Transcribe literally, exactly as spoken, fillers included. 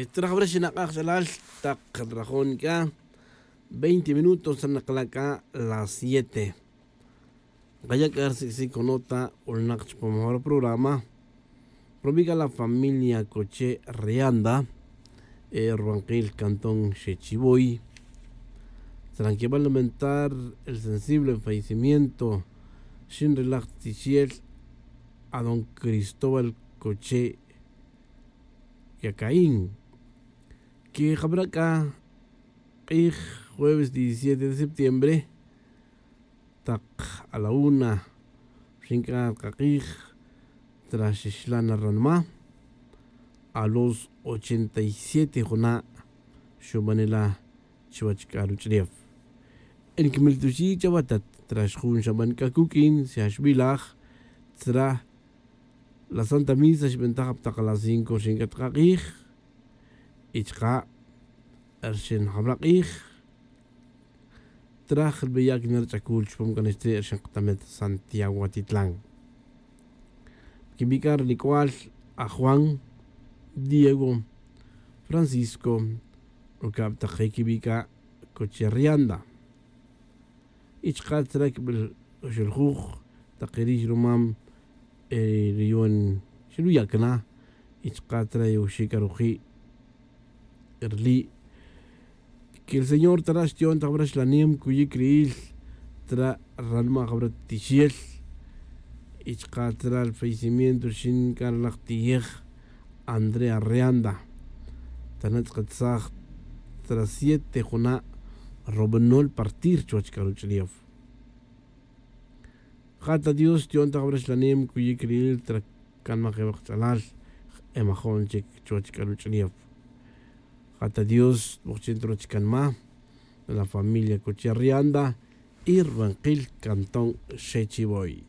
Trajbra xinak'aj ch'alal tak nrajon c'a veinte minutos nrakala' c'a las siete. Nkaya' c'a rsiq'sic conota ulnak chupam jor programa. Rubi' c'a la familia coche rianda, rubankil cantón xechivoy, tranquibal lamentar el sensible fallecimiento xin relaj tixiel a don cristóbal coche yacaín. Que jabra c'a k'ij jueves diecisiete de septiembre tak a la una rxin c'a kak'ij tra xixlan ranma a los ochenta y siete juna' xubanela chuwech c'a ruch'ulef. Nquimiltuxi' chawatat tra xjun xaban c'a cuq'uin xa xbilaj tra la santa misa xbentaj aptak a las cinco rxin c'a tak ak'ij. Y chka' rxin jabra k'ij traj rbeyac na rch'acul chupam c'a nixtre' rxin katamet santiago atitlan. Quibi' c'a rinic'ual a juan, diego, francisco, rucab tak quibi' c'a coche rianda. Y chka' tzra quibel oxoljuj tak rix rumam riyon xiruyac na. Y chka' tzra yoxic aruji' rili' que el señor tzra xtiyon tak bra xlanem cuyic ri'il tzra ranma' jabra tixiel. Y chka' tzra el fallecimiento rxin c'a ralaj tiyej andrea reanda. Tana' tz'akatsaj tzra siete juna' robenol partir chuwech c'a ruch'ulef. Ja' ta dios xtiyon ta jabra xlanem cuyic ri'il tzra canmaj ewak ch'alal. Emajon chic chuwech c'a ruch'ulef. Ja' ta dios tbojchin ta ruwech canma la familia coche rianda y rubankil cantón xechivoy.